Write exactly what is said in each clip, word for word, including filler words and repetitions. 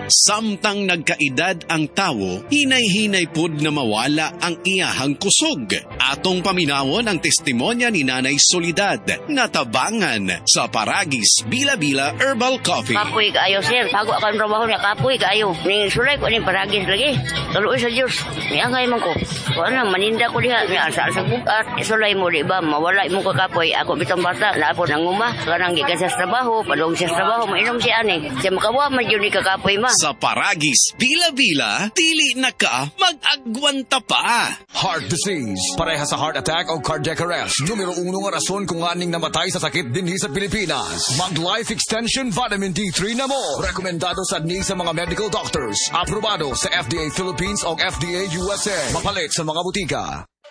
Samtang nagkaedad ang tawo, hinay-hinay pud na mawala ang iyahang kusog. Atong paminawon ang testimonya ni Nanay Soledad, natabangan sa Paragis Bila-Bila Herbal Coffee. Kapoy kaayo, sir. Bago ako ang trabaho niya, kapoy kaayo. Ning sulay ko ni Paragis lagi. Tuloy sa Diyos. Niangay man ko. Kuan lang, maninda ko diha. Ni asa sa bukat. Sulay mo, di ba? Mawala mo kakapoy. Ako bitong bata, naapon ang uma. Kanang gikan sa trabaho, padung sa trabaho, mainom siya ani. Siya makawa man yun ni kakapoy ma. Sa Paragis Bila-Bila, dili na ka mag-agwanta pa. Heart disease, pareha sa heart attack o cardiac arrest. Numero uno nga rason kung aning namatay sa sakit dinhi sa Pilipinas. Mag-life extension vitamin D three na mo. Rekomendado sa ni sa mga medical doctors. Aprobado sa F D A Philippines o F D A U S A. Mapalit sa mga butika.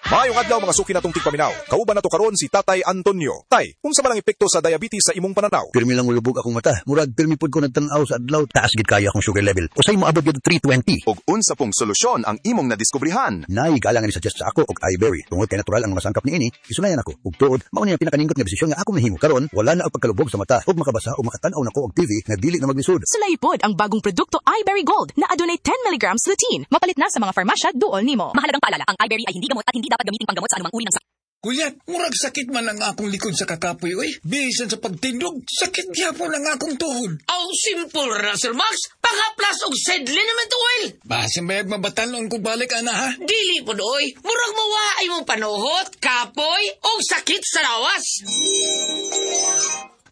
Maayong adlaw mga suki natong tigpaminaw. Kauban nato karon si Tatay Antonio. Tay, unsa man ang epekto sa diabetes sa imong pananaw? Pirmi lang ulubog akong mata. Murag pirmi pud ko nagtan-aw sa adlaw. Taas gid kaya akong sugar level. Usay moabot gyud three twenty. Og unsa pong solusyon ang imong nadiskubrihan? Naigalangan ni suggest sa ako og iBerry. Tungod kay natural ang mga sangkap niini, isulayan ako. Ug tuod, mao ni ang pinakaninggot nga desisyon nga akong nahimo karon, wala na ang pagkalubog sa mata ug makabasa o makatan-aw nako og T V nga dili na maglisod. Sulay pod ang bagong produkto iBerry Gold na adunay ten milligrams lutein. Mapalit na sa mga farmasya duol nimo. Mahalagang paalala, ang iBerry ay hindi gamot at hindi dapat gamitin panggamot sa anumang uri ng sakit. Kuya, murag sakit man ang akong likod sa kakapoy, oy. Bisan sa pagtindog, sakit gyapon ang akong tuhod. Aw, simple ra, Sir Max. Pangaplas og said liniment oil. Basin bayag mabatanon kung balik, ana, ha? Dili po, oy. Murag mawa ay mong panuhot, kapoy, o sakit sa lawas.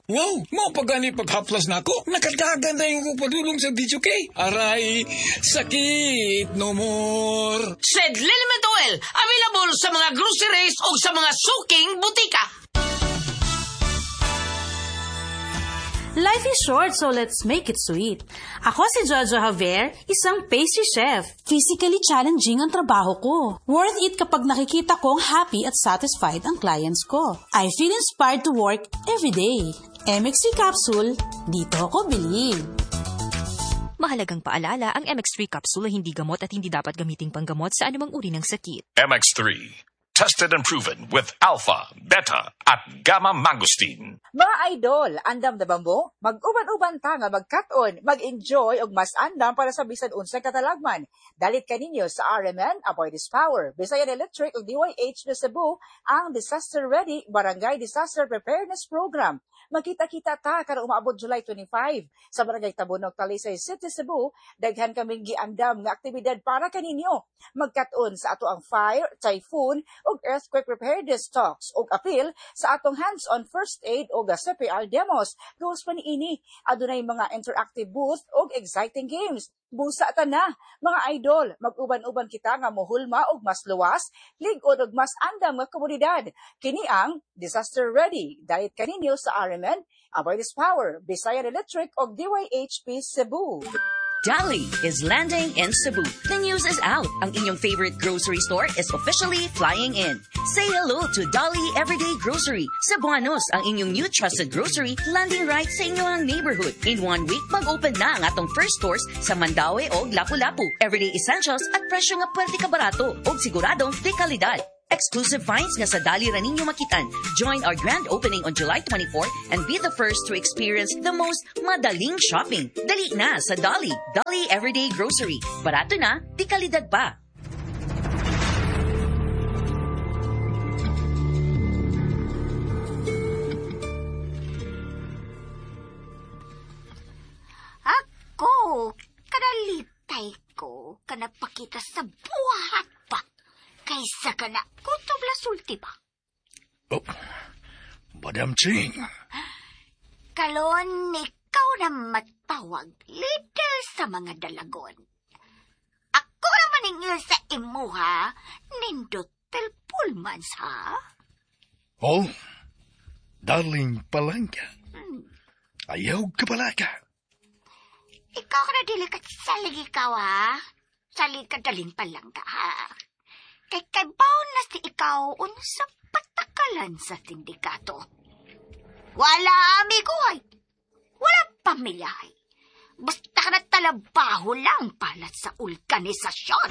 Wow, mao pa gani paghaplas nako. Nakadagan na yung padulong sa D J K. Aray, sakit no more. Said liniment oil, available sa mga groceries o sa mga suking butika. Life is short, so let's make it sweet. Ako si Jojo Javier, isang pastry chef. Physically challenging ang trabaho ko. Worth it kapag nakikita kong happy at satisfied ang clients ko. I feel inspired to work every day. M X three Capsule, dito ako believe. Mahalagang paalala, ang M X three Capsule ay hindi gamot at hindi dapat gamiting panggamot sa anumang uri ng sakit. M X three. Tested and proven with alpha, beta, at gamma mangosteen. Mga idol, andam na ba mo? Mag-uban-uban ta nga magkat-on, mag-enjoy og mas andam para sa bisan unsay katalagman. Dalit kaninyo sa R M N, Aboitiz Power, Bisayan Electric ug D Y H na Cebu ang Disaster Ready Barangay Disaster Preparedness Program. Magkita-kita ta karon umaabot July twenty-five sa Barangay Tabunok, Talisay City, Cebu. Daghan kaming giandam nga aktibidad para kaninyo. Magkat-on sa ato ang fire, typhoon ug earthquake preparedness talks ug appeal sa atong hands-on first aid ug C P R demos. Gawas pa niini, adunay mga interactive booth ug exciting games. Busa ta na, mga idol, mag-uban-uban kita nga mohulma og mas luwas, lig-on og mas andam nga komunidad. Kini ang Disaster Ready. Dalit kaninyo sa R M N, Aboitiz Power, Bisayan Electric ug D Y H P Cebu. Dali is landing in Cebu. The news is out. Ang inyong favorite grocery store is officially flying in. Say hello to Dali Everyday Grocery. Cebuanos, ang inyong new trusted grocery, landing right sa inyong neighborhood. In one week, mag-open na ang atong first stores sa Mandaue o Lapu-Lapu. Everyday essentials at presyo nga pwerte ka barato o siguradong de kalidad. Exclusive finds nga sa Dali ra ninyo makitan. Join our grand opening on July twenty-fourth and be the first to experience the most madaling shopping. Dali na sa Dali. Dali Everyday Grocery. Barato na, di kalidad pa. Ako, kanalipay ko, kanapakita sa buhat pa. Kaysa ka na, kutob la sulti ba? Oh, Madam Ching. Kalon, ikaw na matawag, leader sa mga dalagon. Ako ang maningil sa imuha, nindot telpulmans, ha? Oh, darling palangka. Hmm. Ayaw ka palaka. Ikaw ka na dili ka salig ikaw, ha? Salig ka daling palangka, ha? Kay kaybaw na si ikaw unsa patakalan sa sindikato. Wala amigo ay. Wala pamilya ay. Basta ka na talabaho lang pala sa organisasyon.